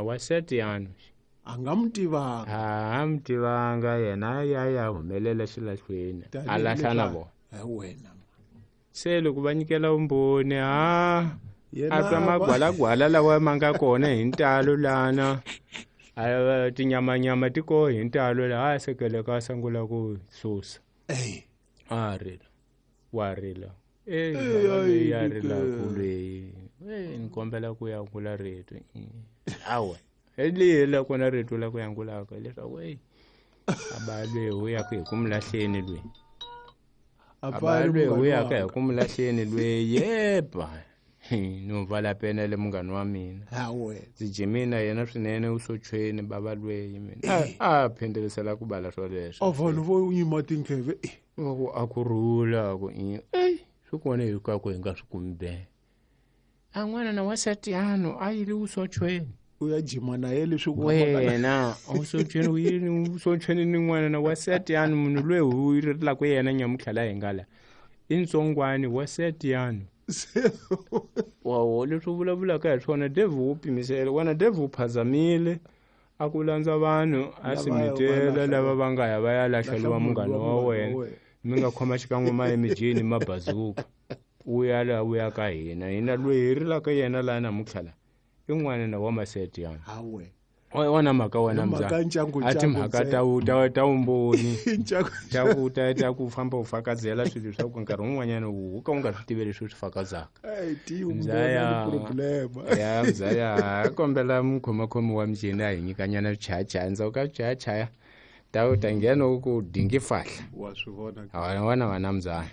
Wa Setiyano. A nga mi tivanga. A mi tivanga yena ya ya humelela xilahlweni a lahla na vona. Wena. Se loko va nyikela vumbhoni a a twa magwalagwala lawa ma nga kona hi ntalo lana a tinyamanyama ti koho hi ntalo laha a sekeleka a sungula ku susa. A rila wa rila leyi ya rilaku leyi ni kombela ku yangula rito awa leyi la kona rito la ku yangulaka leswaku eyi aba lweyi u yaka hi ku mi lahleni lweyi aba lweyi u yaka hi ku mi lahleni lweyi yeba no vala pena le munghani wa mina ndzi jimini na yena swinene u sochweni bava lweyi mina a phindelisela ku bala swoleswo a vanhu vo yima tindleve ku a ku rhula ku eyi swi kona hinkwako hi nga swi kumi be a n'wana na wasatiyano a yile usochweni u ya jima na ye leswi wena usochweni u yini usochweni ni n'wana na wasatiyano munhu loyi u rilaka yena nyamutlha la hi nga la i ntsongwani wasatiyano wawo leswi u vulavulaka hi swona devil wu pimisela wena devil u phazamile a ku landza vanhu a simitela lava va nga ya va ya lahleliwa munghana wa wena mi nga khoma xikan'we ma emijini mabazuka u ya laha u ya ka hina hina loyi hi rilaka yena laha namuntlha la i n'wana na wa maseti yana wona mhaka wena a timhaka ta vumbhoni ta ku famba u fakazela swilo swa ku nkarhi wun'wanyana u ka u nga swi tivi leswi u swi fakazaka ya mzaya kombela mukhomakhomi wa mjini a hi nyikanyana swichayachaya ndzhaku ka swichayachaya ta u ta nghena u ku dingi fahla wa swi vona wona wena mzaya.